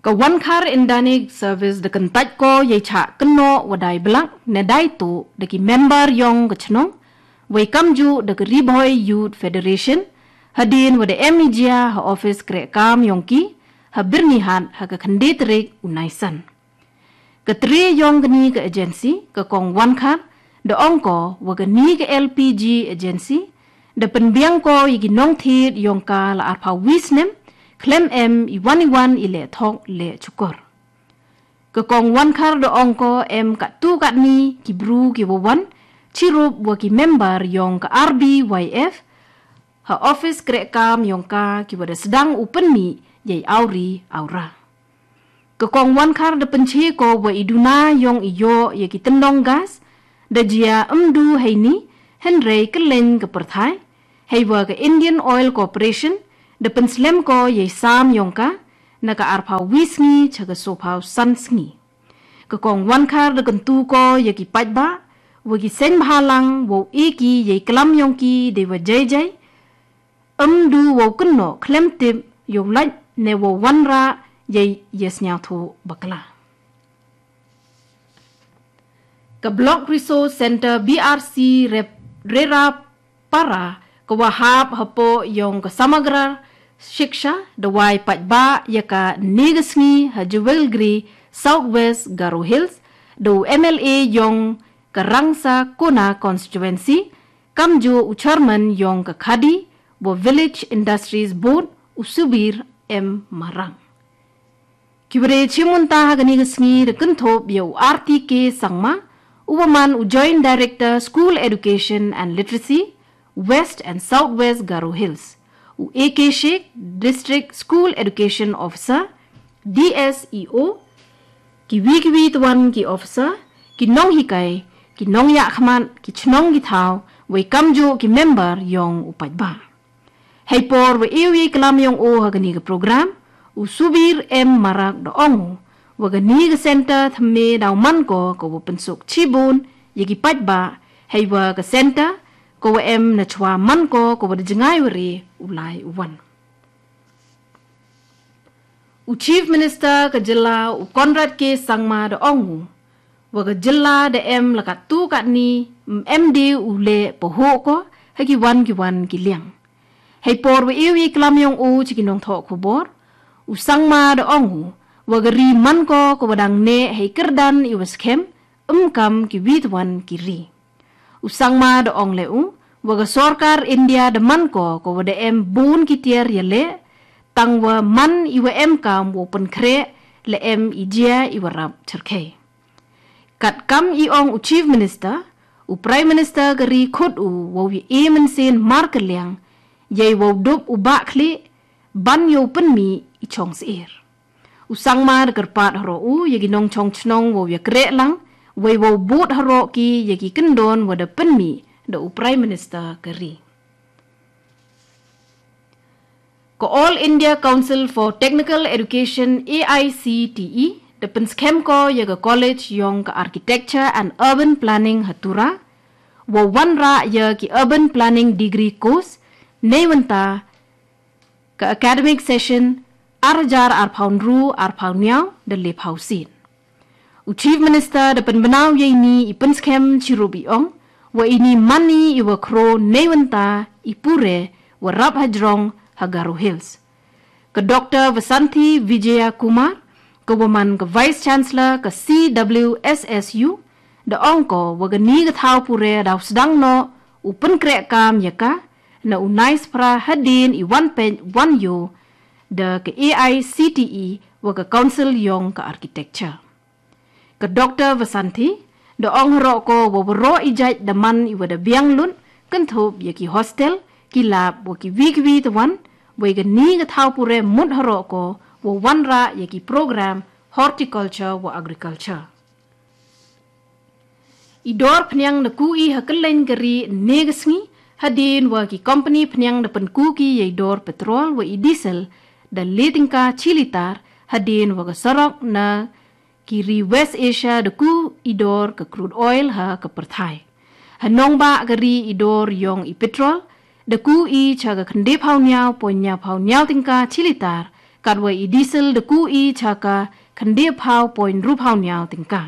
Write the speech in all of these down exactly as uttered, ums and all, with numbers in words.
Ka wankar indani service da kyntaitko yei cha kynno wadai blak ne dai tu da ki member yong ka chnong, wei kamju da ka Ri Bhoi Youth Federation, hadien wada em i jia ha office kreh kam yong ki, ha Byrnihat ha ka khynde tarik u Naisan. Ka tre yong kani ka agency, ka kong wankar, da ong ko, wa kani ka L P G agency, da pynbiang ko ya ki nongthied yong ka la arphaw wi snem, khlem em i wan i wan i leh thok leh chukor. Ka kong wankar da ong ko em kattu katni ki bru ki wa wan, chirup wa ki member yong ka R B Y F, ha office kreh kam yong ka ki wada sdang u pynmih yei awri awra. Ka kong wankar da pynche ko wa i duna yong i yoh ya ki tyndong gas, da jia ym du heini, hynrei kylleiñ ka pyrthai, heiwa ka Indian Oil Corporation, da pynslem ko yei sam yong ka, na ka arphaw wi sngi cha ka sophaw san sngi. Ka kong wankar da kyntu ko ya ki paidbah, wa ki seiñ bhalang, wow e ki yei klam yong ki dei wa jai jai, ym du wow kynnoh khlem tip yow lait ne wow wanrah yei ya sñiawthooh bakla. Ka Block Resource Centre B R C rep-, Rerapara ka wa hap hapoh yong ka Samagra Shiksha da wai paidbah ya ka nega sngi ha Jewelgri, South West Garo Hills, da u M L A yong ka Rangsa Kona Constituency, kamju u chairman yong ka Khadi wa Village Industries Board u Subir M Marang. Ki wada chimunta ha kani ka sngi da kynthop ya u R T K Sangma, u wa man u Joint Director School Education and Literacy, West and South West Garo Hills, u A K Sheikh, District School Education Officer, D S E O, ki wi ki wi twan ki officer, ki nonghikai, ki nongyahkhmat, ki chnong ki thaw, wei kamju ki member yong u paidbah. Hei por wa e u yei klam yong o ha kani ka program, u Subir M Marak da ong u, wa kani ka centre thymme daw man ko ka wa pynsuk chibun ya ki paidbah, heiwa ka centre ka wa em na chwa man ko ka wa da jngai wa re u lai u wan. U Chief Minister ka jylla u Conrad K Sangma da ong u, wa ka jylla da em la kattu katni, mm, em de u leh pahoh ko ha ki wan ki wan ki liang. Hei por wa e u yei klam yong o cha ki nongthoh khubor, u Sangma da ong u, wa ka ri man ko ka wa dang neh hei kyrdan i wa skhem, ym kam ki wi twan ki ri. U Sangma da ong leh u, wa ka sorkar India da man ko ka wa da em bun ki tiar ya leh, tang wa man i wa em kam wow pynkhreh, la em i jia i wa rap chyrkhei. Kat kam i ong u Chief Minister, u Prime Minister ka ri khut u wow ya e mynsiem mar ka liang, yei wow dup u bah khlieh, ban yow pynmih i chong syier. U Sangma da kyrpad haroh u ya ki nongchong chnong wow ya kreh lang, wei wow bud haroh ki ya ki kyndon wa da pynmih da u Prime Minister ka ri. Ka All India Council for Technical Education, A I C T E, da pynskhem ko ya ka College yong ka Architecture and Urban Planning ha Tura, wow wanrah ya ki Urban Planning Degree Course, nei wynta ka academic session ar hajar arphaw ynru arphaw ynñiaw da lephaw sit. U Chief Minister da pynbna u yei ni i pynskhem chirup i ong, wa ini man i i wa khro nei wynta i pure wa rap hajrong ha Garo Hills. Ka Doctor Vasanthi Vijayakumar, ka wa man ka Vice Chancellor ka C W S S U, da ong ko wa kani ka thaw pure daw sdang noh u pynkreh kam ya ka, na u naispra hadien i wan peit wan yoh, da ka A I C T E wa ka Council yong ka Architecture. Ka Doctor Vasanthi, da ong haroh ko wa waroh i jait da man i wa da biang lut, kynthup ya ki hostel, ki lab, wa ki wi ki wi twan, wei kani ka thaw pure mut haroh ko, wa wanrah ya ki program, horticulture wa agriculture. I dor phniang da ku i ha kylleiñ ka ri nega sngi, hadien wa ki company phniang da pynku ki yei dor petrol wa i diesel, da le tyngka chi litar, hadien wa ka sorok na ki ri West Asia da ku i dor ka crude oil ha ka pyrthai. Ha nongbah ka ri i dor yong i petrol, da ku i cha ka khyndephaw ynñiaw point ynñiawphaw ynñiaw tyngka chi litar, Katwa i diesel deku'i chaka khendephao point ruphao niao tengka.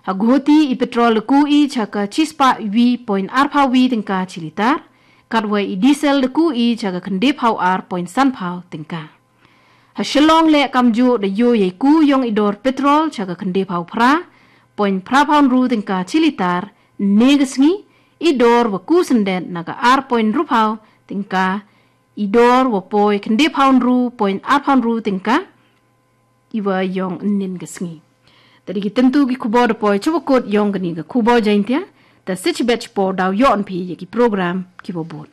Ha Guwahati i petrol deku'i chaka chispa wi point arphao wi tengka chi litar. Katwa i diesel deku'i chaka khendephao ar point sanphao tengka. Ha Shillong le Kamju da yo ye ku yong i dor petrol chaka khendephao phra point phraphao ru tengka chi litar. Ne ga sngi i dor wa ku sendet naga ar point ruphao tengka. I dor wa poi khendephao ru point arphao ru tengka. Iwa yong nin ga sngi. Tadi ki tentu ki khubor da poi chuba kot yong gani ga khubor Jaintia. Ta sitch bech por dau yo an phi ya ki program ki bo bun.